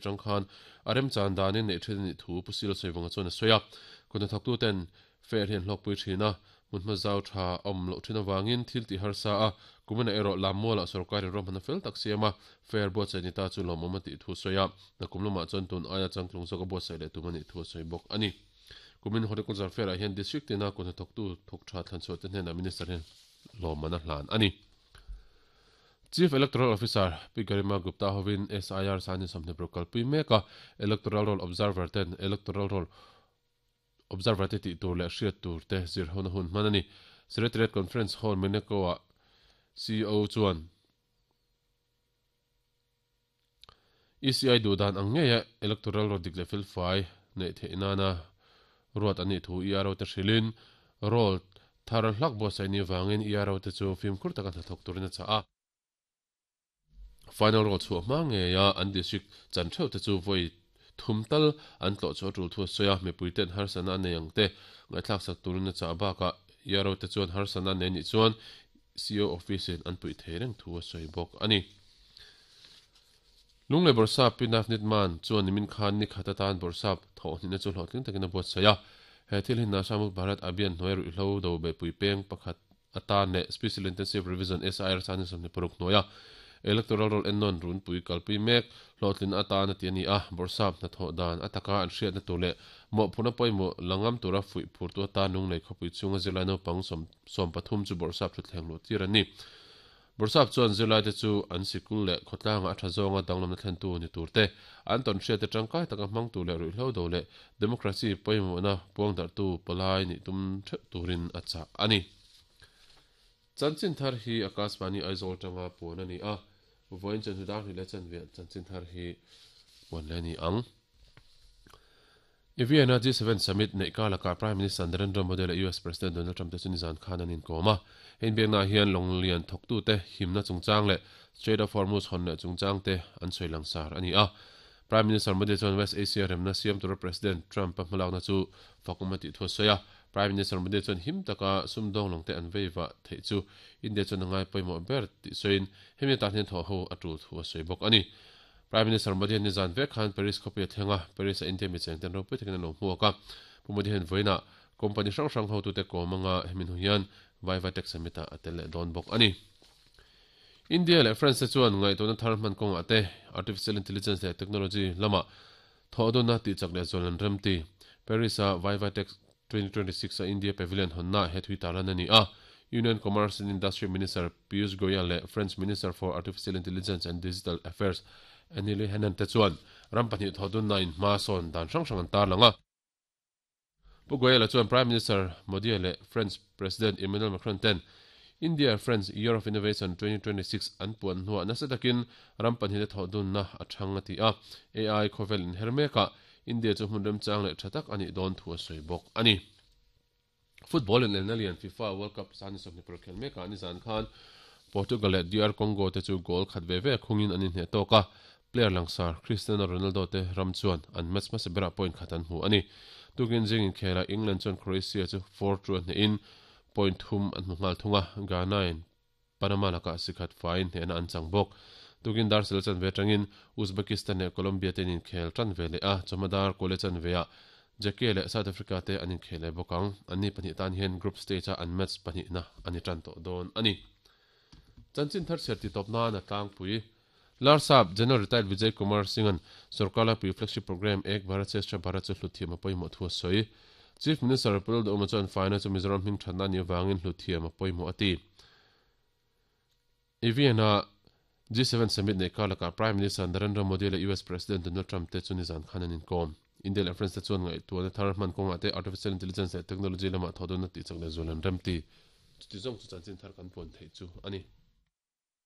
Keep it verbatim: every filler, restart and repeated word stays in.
atang khan arem chan danin nei thin ni thu pusil soiwanga chuan a soya kuna thaktu ten fair hian hlokpui thina munma zau tha om lo thina wangin thil ti harsa a kumena ero lammola sarkari rom hana fel tak siama fair bo chani ta chu lomoma ti thu soya na kumlama chuan tun aya changtlung soka bo sai le tumani thu soi bok ani kumin horticulture fair a hian district tina kuna thoktu thok tha thlan chu te hnen minister hen lomana hlan ani Chief Electoral Officer Pigarima Gupta hovin S I R sani samne prokal pui meka Electoral Roll Observer ten Electoral Roll Observer te ti tur le hriat tur te zir hona hun manani Secretariat Conference Hall Meneko a C O chuan E C I du dan ang ngeia Electoral Roll dik le fel fai nei theinana ruat ani thu E R O te hrilin roll thar hlak bo sai ni wangin E R O te chu fim khur taka thok turina cha a final roll chu ma nge ya an district chan theu te chu voi thumtal an tlo chu tul thu soya me puiten har sana ne yang te ngai thlak sak turina cha ba ka yaro te chuan har sana ne ni chuan C O office in an pui thereng thu soi bok ani lungle borsa pinaf nit man chuan nimin khan ni khata tan borsa tho ni na chu hlotling takina bot saya he thil hin na samuk Bharat Abhiyan noi ru hlo do be pui peng pakhat ata ne Special Intensive Revision S I R san samne paruk noya Electoral Roll ennon run pui kalpui mek hlotlin ata na ti ani a borsap na tho dan ataka an hriat na tule mo phuna poimo langam tura fui phur tu ta nung nei khopui chunga zilai no pang som som pathum chu borsap thu thleng lo tir ani borsap chuan zilai te chu an sikul le khotlanga atha zonga danglam na thlen tu ni turte an ton hriat te tangkai taka hmang tu le ru hlo do le democracy poimo na puang dar tu palai ni tum thep turin acha ani chanchin thar hi Akashvani Aizawl tanga pon ani a voin chan hudar hi le chan ve chanchin thar hi pon le ni ang Vienna G seven summit nei ka laka Prime Minister Narendra Modi le U S President Donald Trump te chuni zan khan anin koma hein beng na hian longlian thoktu te himna chungchang le Strait of Hormuz hon le chungchang te an soilang sar ani a Prime Minister Modi chuan West Asia remna siam tur President Trump pa hmalak na chu fakumati thu soya Prime Minister Modi chuan him taka sumdong longte an veiwa thei chu India chuan ngai poimo ber ti soin hemi ta hnen tho ho atul thu soi bok ani Prime Minister Modi ni zan ve khan Paris khopi thenga Paris a India mi cheng ten ro pui thekna lo hmuaka pu Modi hen voina company hrang hrang ho tu te komanga hemin huian Viva Tech Summit a atel don bok ani India le France chuan ngai tona thar man kong ate artificial intelligence le technology lama thodona ti chak le zolan ramti Paris a Viva Tech twenty twenty-six a India Pavilion honna he thui talan ani a Union Commerce and Industry Minister Piyush Goyal le French Minister for Artificial Intelligence and Digital Affairs Anili Henan te chuan rampani thodun na in ma son dan hrang hrang an tar langa Pu Goyal chuan Prime Minister Modi le French President Emmanuel Macron ten India France Year of Innovation twenty twenty-six an puan hnuah nasa takin rampani te thodun na a thang ati a A I khovel in hermeka India chu hmun rem chang le thatak ani don thu a soi bok ani football in elnalian FIFA World Cup sani somni prokhel meka ani zan khan Portugal le D R Congo te chu goal khat ve ve khungin ani hne toka player langsar Cristiano Ronaldo te ram chuan an match ma sebera point khatan hu ani tukin jing in khela England chuan Croatia chu four two hne in point thum an hmungal thunga Ghana in Panama laka sikhat fine hne na an chang bok tukin dar sel chan ve tangin Uzbekistan le Colombia ten in khel tran ve le a chamadar kole chan ve a Jake le South Africa te anin khele bokang ani pani tan hian group stage a an match pani na ani tran to don ani chanchin thar serti top na na tlang pui Larsap General Retired Vijay Kumar Singhan Sarkala pui flagship program Ek Bharat Shreshtha Bharat chu hluthim a poimo thu soi Chief Minister Pul do umachon final chu Mizoram hming thatna ni wangin hluthim a poimo ati Vienna G seven summit nei kalaka Prime Minister Narendra Modi le U S President Donald Trump te chuni zan khan anin kom India le France te chuan ngai tuan thar man konga te artificial intelligence le technology lama thodon na ti chakle zolan ramti ti zong chu chanchin thar kan pon thei chu ani.